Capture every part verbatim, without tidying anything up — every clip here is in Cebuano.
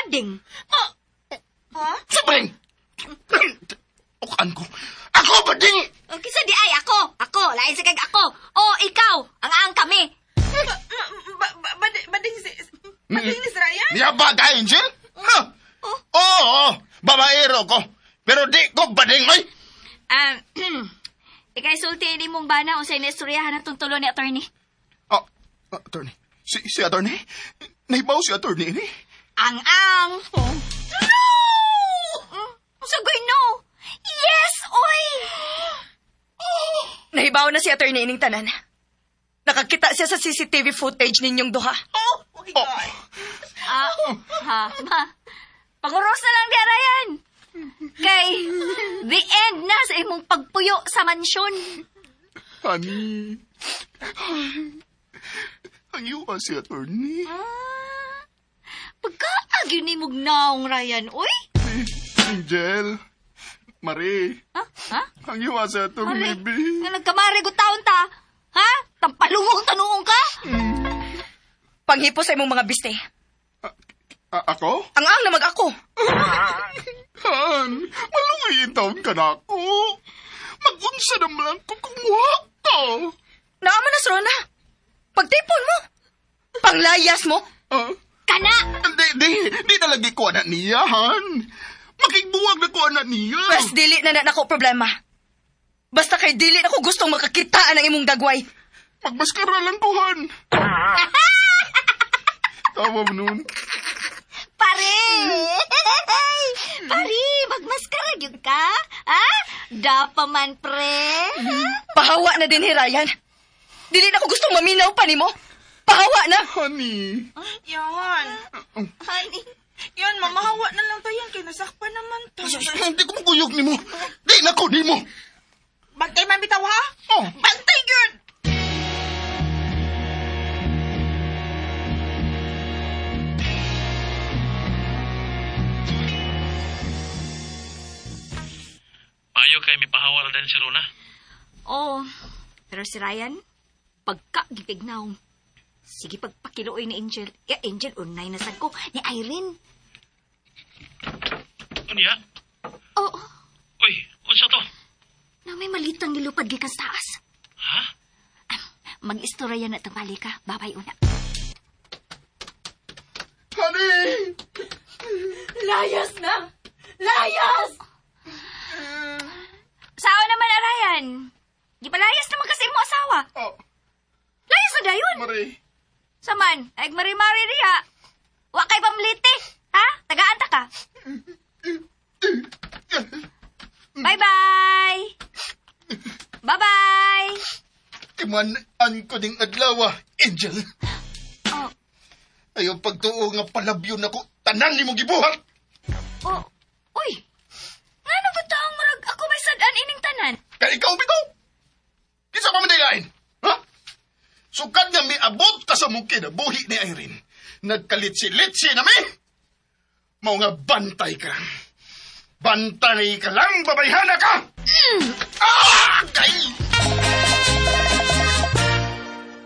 bading. Ha? Sa bading! Ukaan ko. Ako bading! O kinsa di ay ako, ako, lain sa kag ako. O ikaw, ang ang kami. Ba, ba, ba, bading, bading si... Bading ni si Ryan? Niya ba ka, Angel? Ha? Oh. Oo, babaero ko. Pero di ko bading, oy! Um, ikay sulti ni mong bana unsay naistoryahan atong tulo ni attorney. Oh, attorney. Si, si attorney? Nahibaw si attorney ini? Ang ang. Oh. No! Mm, Sagoy no. Yes, oy. Nahibaw na si attorney ining tanan. Nakakita siya sa C C T V footage ninyong duha. Oh, my God. Ah, ha, ma. Panguros na lang di, Ryan. Kay, the end na sa imong pagpuyo sa mansyon. Honey. Ang yuwa si attorney. Ah, pagkaagyo ni mong naong, Ryan, uy. Angel. Marie. Ha? Ha? Ang yuwa si attorney, Mare, B. nga nagkamari ko taon ta. Ha? Tampalungong tanuong ka? Panghipo sa imong mga biste. A- ako? Ang ang na mag-ako. Han, malungay taon ka na ako. Mag-unsa naman lang ko kumuha ka. Naama na, Rona. Pagtipon mo. Panglayas mo. Ah, Kana! Di, di, di na lagi ko anak niya, Han. Makigbuwag na ko anak niya. Pwes dili na na nako problema. Basta kay dili na ko gustong makakitaan ang imong dagway. Magmaskara lang ko, Han. Tawa mo nun. Pare! Pare, magmaskara gyud ka? Ha? Dapa man, pre. Pahawa na din, Ryan. Dili na ko gustong maminaw pa nimo. Pahawa na. Honey. Yan. Honey. Yan, mamahawa na lang tayo. Kay nasakpan naman ta. Hindi ko makuyog nimo. Di na ko nimo. Bantay man bitaw, ha? Oh. Bantay gyud! Maayo kay mipahawa ra din si Rona. Oh, pero si Ryan, pagka gipignaw. Sige, pagpakiluoy ni Angel. Ya, Angel, unay na sad ko. Ni Irene. Unya? Oo, Uy, unsa to? Na may malitang gilupad gikan sa taas. Ha? Mag-istorya na tambali ka. Babay una. Honey! Layas na. Layas! Sao naman, Ryan? Gipalayas naman kasi mo asawa. Oh, Layas na dayon. Marie. Saman, ay mari-mari diha. Wa kay pamlite. Ha? Tagaan ta ka. Bye-bye. Bye-bye. Timan-an ko ding adlaw, Angel. Oh, Ayaw pagtuo nga palabyo na ko. Tanan ni mo gibuhat. Oh, uy. Ngano ba taong murag ako may sad-an ining tanan? Kay ikaw bitaw. Kinsa pa man lain? Ha? Sukad nga miabot ka sa mong kinabuhi ni Irene. Nagkalitsi-litsi na mi. Mao nga bantay ka. Bantay ka lang, babayhana ka! Ah! Kay!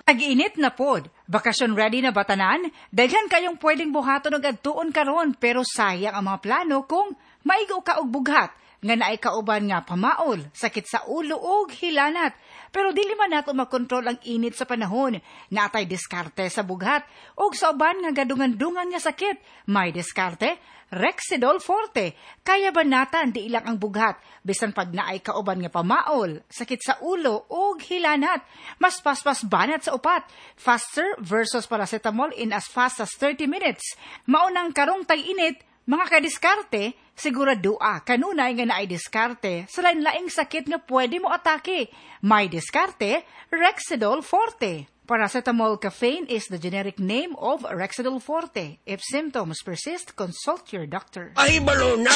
Tag-init na pod. Bakasyon ready na ba tanan? Daghan kayong pwedeng buhaton og adtuon karon, pero sayang ang mga plano kung maigo ka og bughat nga naay kauban nga pamaol, sakit sa ulo ug hilanat. Pero dili man nato makontrol ang init sa panahon. Natay diskarte sa bughat ug sa uban nga gadungan-dungan nga sakit. May diskarte, Rexidol Forte. Kaya ba natan di ilang ang bughat bisan pag naay kauban nga pamaol, sakit sa ulo ug hilanat. Mas paspas banat sa upat. Faster versus paracetamol in as fast as thirty minutes. Maunang karong tag-init, mga kadiskarte, siguradoa kanunay nga naay diskarte sa lain-laing sakit nga pwede mo atake. May diskarte, Rexidol Forte. Paracetamol caffeine is the generic name of Rexidol Forte. If symptoms persist, consult your doctor. Ay, balo na.